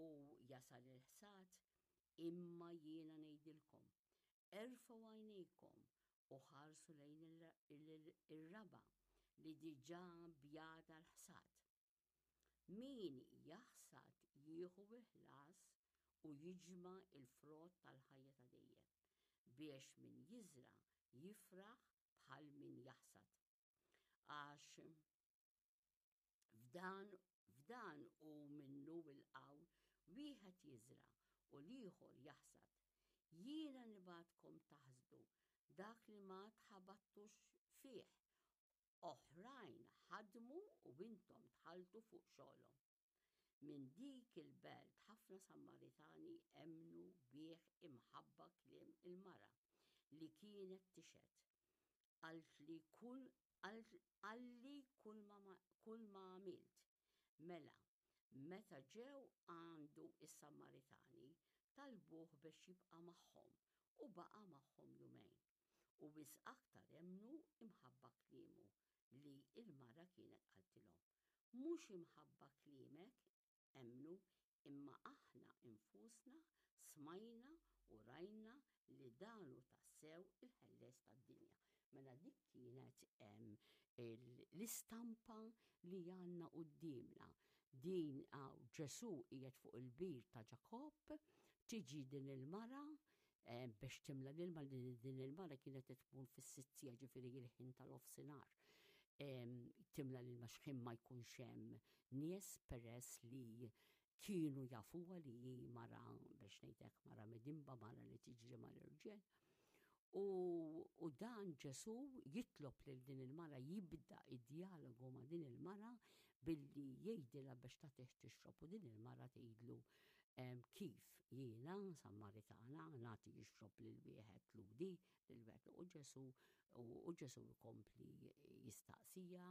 u jasal il-ħsad, imma jiena ngħidilkom, erfgħu għajnejkom u ħarsu lejn ir-raba' li diġà bjad għall-ħsad. Min jaħsad jieħu l-ħlas u jiġma' l-frott tal-ħajja ta' dejjem, biex min jiżra' jifraħ bħal min jaħsad. Għax f'dan f'dan hu minnu l-qawl wieħed jiżra' u l-ieħor jaħsad. Jiena nibgħatkom taħsdu dak li ma tħabattux fih. Oħrajn ħadmu u intom dħaltu fuq xogħolhom. Minn dik il-belt ħafna Sammaritani emmnu bih imħabba kliem il-mara li kienet tixhed. Qaltli kull qalli kull ma kull ma għamilt. Mela, meta ġew għandu s-Sammaritani, talbuh biex jibqa' magħhom, u baqa' magħhom jumejn. U wisq aktar emmnu imħabba kliemu li l-mara kienet qaltilhom. Mhux imħabba kliemek emmnu, imma aħna nfusna smajna u rajna li dan hu tassew il-Ħellies tad-dinja. Mela dik kienet l-istampa li għandna quddiemna. Din hawn Ġesù qiegħed fuq il-bir ta' Ġakobb, tiġi din il-mara biex timla l-ilma li din il-mara kienet tmur fis-sittija ġifieri il-ħin tal-ofsinhar. Timla l-ilma x'ħin ma jkunx hemm nies peress li kienu jafuha li hi mara biex ngħidlek mara midinba, mara li tiġri mal-irġiel. U, u dan Ġesu jitlob lil din il-mara jibda id-dialogu ma' din il-mara billi jgħidilha biex tagħtih tixrob u din il-mara tgħidlu Kif jiena, Sammaritana, nagħti jixrob lil wieħed Lhudi, lil wieħed u Ġesu u Ġesu jkompli jistaqsija,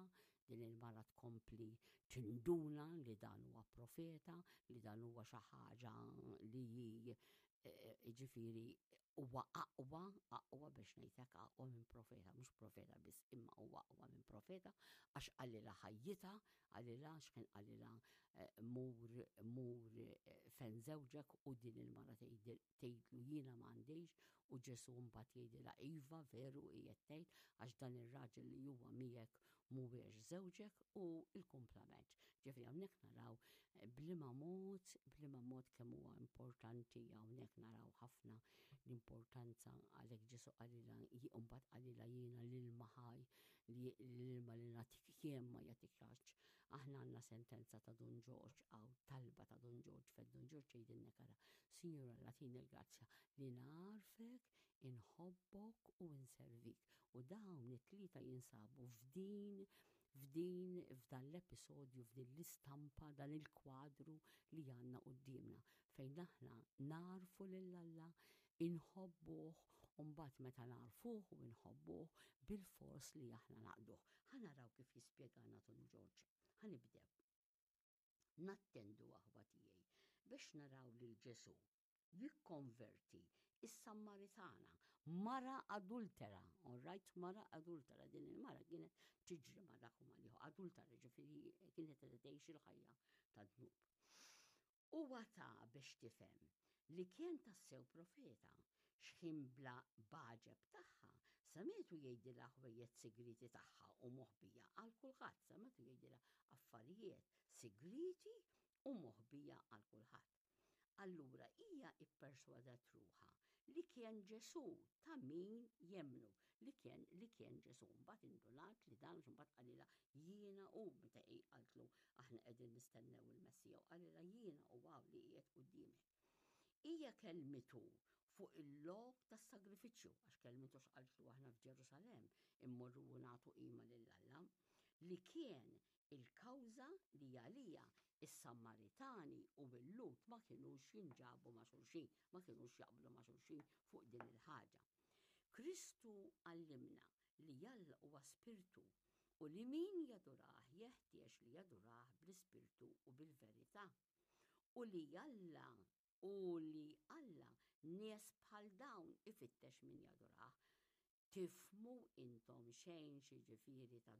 din il-mara tkompli tinduna li dan huwa profeta, li dan huwa xi ħaġa li hi ġifieri huwa aqwa, aqwa biex ngħidlek aqwa minn profeta, mhux profeta biss, imma huwa aqwa minn profeta għax qalilha ħajjitha, qalilha x'kien qalilha eh, mur mur eh, fejn żewġek u din il-mara tgħidlu jiena m'għandix u Ġesu mbagħad jgħidilha iva veru qiegħed tgħid għax dan ir-raġel li huwa miegħek mhuwiex żewġek u l-kumplament. Ġifieri hawnhekk naraw eh, bliema mod, bliema mod kemm huwa importanti hawnhekk naraw ħafna l-importanza għalhekk Ġesu qalilha mbagħad qalilha jiena l-ilma ħaj li l-ilma li nagħtik jien ma jagħtikx. Aħna għandna sentenza ta' Dun Ġorġ għaw talba ta' Dun Ġorġ fejn Dun Ġorġ jgħidilna kara, Sinjura Alla tini l-grazzja li nagħrfek, inħobbok u nservik. U dawn it-tlieta jinsabu f'din f'din f'dan l-episodju, f'din l-istampa, dan il-kwadru li għandna quddiemna fejn aħna narfu lil Alla, inħobbuh u mbagħad meta narfuh u nħobbuh bilfors li aħna naqduh. Ħa naraw kif jispjegana Dun Ġorġ. Ħa nibdew. Nattendu aħwa tiegħi biex naraw lil Ġesù jikkonverti is-Sammaritana, mara adultera, all right, mara adultera, din il-mara kienet tiġri ma dak u ma liħu, adultera ġifieri kienet qed tgħix il-ħajja ta' dnub. Huwa ta biex tifhem li kien tassew profeta, x'ħin bla b'għaġeb tagħha semgħetu jgħidilha ħwejjeġ sigrieti tagħha u moħbija għal kulħadd, semgħetu jgħidilha affarijiet sigrieti u moħbija għal kulħadd. Allura hija ipperswadet ruħha li kien Ġesù ta' min jemmnu li kien li kien Ġesù. Mbagħad indunat li dan mbagħad qalilha jiena hu meta hi qaltlu aħna qegħdin nistennew il-Messija u qalilha jiena u hawn li qiegħed quddiemek. Hija kellmitu fuq il-lok tas-sagrifiċċju għax kellmitu x'qaltlu aħna f'Ġerusalemm immorru u nagħtu qima lil Alla li kien Il-kawża li għaliha s-Sammaritani u l-Lhud ma kinux jinġabu ma' xulxin, ma kinux jaqblu ma' xulxin fuq din il-ħaġa. Kristu għallimna li Alla huwa spirtu u li min jadurah jeħtieġ li jadurah bl-ispirtu u bil-verità. U li Alla u li Alla nies bħal dawn ifittex min jadurah. Tifhmu intom xejn x'jiġifieri tadura?